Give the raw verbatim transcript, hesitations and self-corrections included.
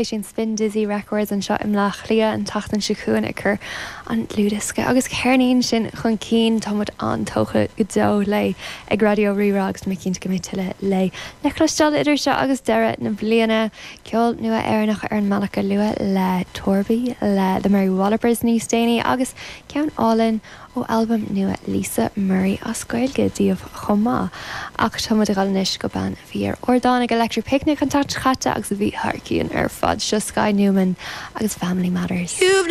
Sin Spin Dizzy Records anseo i mBleá Cliath an tseachtain seo chugainn ag cur an dlúthdhiosca agus ceirnín sin chun cinn táimid an-tógtha go deo léi ag Raidió Rí-Rá agus mé cinnte go mbeidh tuilleadh léi le cloisteáil idir seo agus deireadh na bliana ceol nua Éireannach ar an mbealach go luath le Torby le The Mary Wallopers níos déanaí agus ceann álainn ó albam nua Lisa Murray as Gaeilge daoibh chomh maith. Ach táimid ag dul anois go bean a bhí ar ardán ag Electric Picnic an tseachtain seo caite agus a bhí thar cionn ar fad seo Sky Newman agus Family Matters. You've